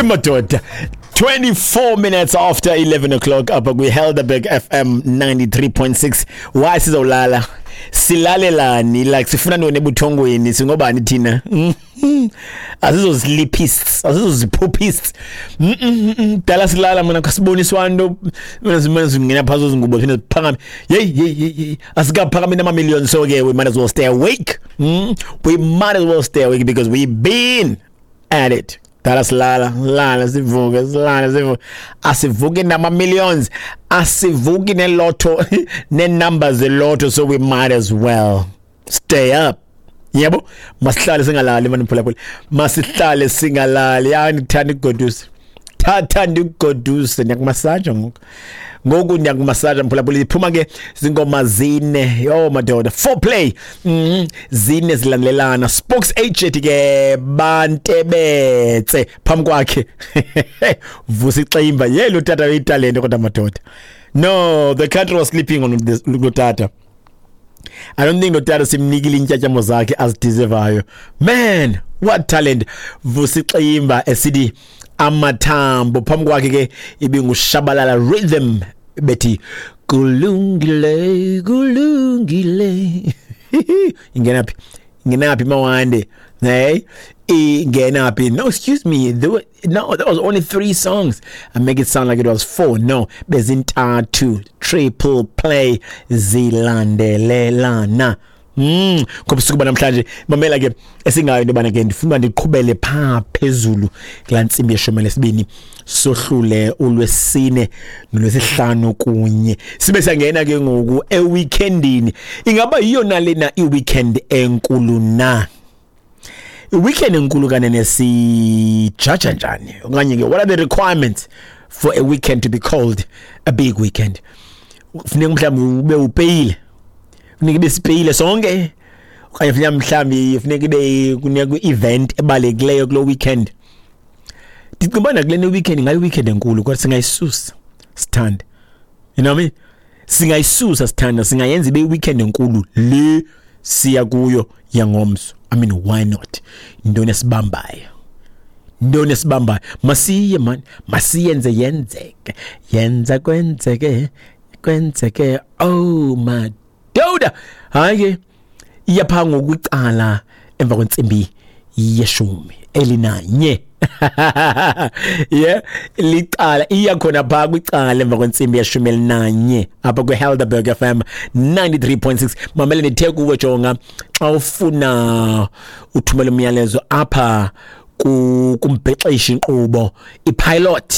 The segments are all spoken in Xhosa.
Imadoda, 24 minutes after 11 o'clock apha kwi-Helderberg FM 93.6. Why sizawulala? Silalelani? Like, sifuna ntoni ebuthongweni? Singobani thina? Asizoziliphists, asizoziphuphists. Dala silala mna, kasiboniswa nto. Mina zimane zingena phakathi zingubo, phinde ziphakame. Hey, hey, hey, hey. Asikaphakami nama-million, so ke we might as well stay awake. We might as well stay awake because we've been at it. Dala silala, lala sivuke, silala sivuke. Asivuki nama-millions, asivuki nelotto, ne-numbers zelotto, so we might as well stay up. Yebo, masihlale singalali mani mphulaphula. Masihlale singalali. Ya, ndithanda ukugodusa. Thatha ndikugoduse, ndiyakumasaja ngoku. Ngoku ndiyakumasaja mphulaphula. Iphuma ke zingoma zine. Yo madoda, foreplay. Zine zilandelelana. Spokes H ethi ke bantebetse phambi kwakhe. Vusi Ximba. Ye lo tata uyitalente kodwa madoda. No, the country was sleeping on this lo tata. I don't think lo tata simnikile intyatyambo zakhe azideservayo. Man, what talent. Vusi Ximba esithi amathambo, phambi kwakhe ke ibingushabalala rhythm bethi kulungile, kulungile. Ingena phi? Ingena phi mawande? Hey, ingena phi? No, excuse me. There were, no, there was only 3 songs. I make it sound like it was 4. No, bezintathu, triple play zilandelelana. Ngobusuku banamhlanje mamela ke esingayo into bana ke ndifuna ndiqhubele pha phezulu kulaa ntsimbi yeshumi lesibini, sohlule ulwesine nolwesihlanu kunye sibe siyangena ke ngoku eweekendini. Ingaba yiyo na lena iweekend enkulu na? Iweekend enkulu kanene sijaja njani? Okanye ke what are the requirements for a weekend to be called a big weekend? Funeka mhlawumbi ube upeyile, funeka ibe sipeyile sonke, okanye funeka mhlawumbi funeka ibe kunikwe i-event ebalulekileyo kuloo weekend. Ndicinga uba nakule ne weekend ingayi weekend enkulu, kodwa singayisusa sithanda, you know what I mean? Singayisusa sithanda, singayenza ibe weekend enkulu le siya kuyo yangomso. I mean, why not? Intoni esibambayo? Intoni esibambayo? Masiye man, masiyenze yenzeke, yenza kwenzeke, kwenzeke. Oh madoda, hayi ke iyapha ngokucala emva kwentsimbi yeshumi elinanye. Yeah, licala iya khona pha kwicala emva kwentsimbi yeshumi elinanye apha kwi-Helderberg FM 93.6. Mamele ndithe kuwe, jonga, xa ufuna uthumela umyalezo apha kumbhexeshi inkqubo i-pilot,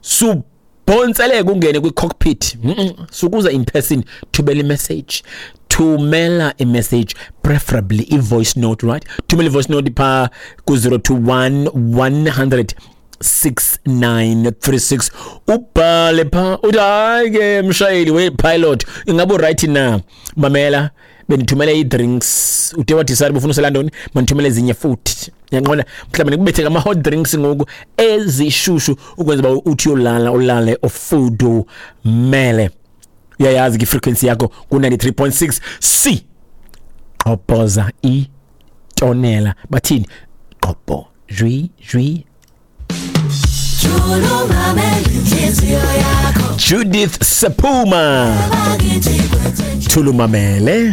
subhontseleke ungene kwi-cockpit, sukuza in person, thumela i-message, thumela i-message, preferably i-voice note, right? Thumela i-voice note pha ku-021 100 6936, ubhale pha uthi hayi ke mshayeli we-pilot, ingabe uright na? Mamela, bendithumele ii-drinks, ude wadecide ubufuna usela ntoni, mandithumele ezinye futhi. Uyaqonda? Mhlawumbi ndikubethe ngama-hot drinks ngoku ezishushu ukwenza uba uthi uyolala ulale ufudumele. Uyayazi ke ifrequency yakho ku-93.6. C gqobhoza itonela, bathini? Gqobho jwi jwi. Judith Sepuma, Thulumamele.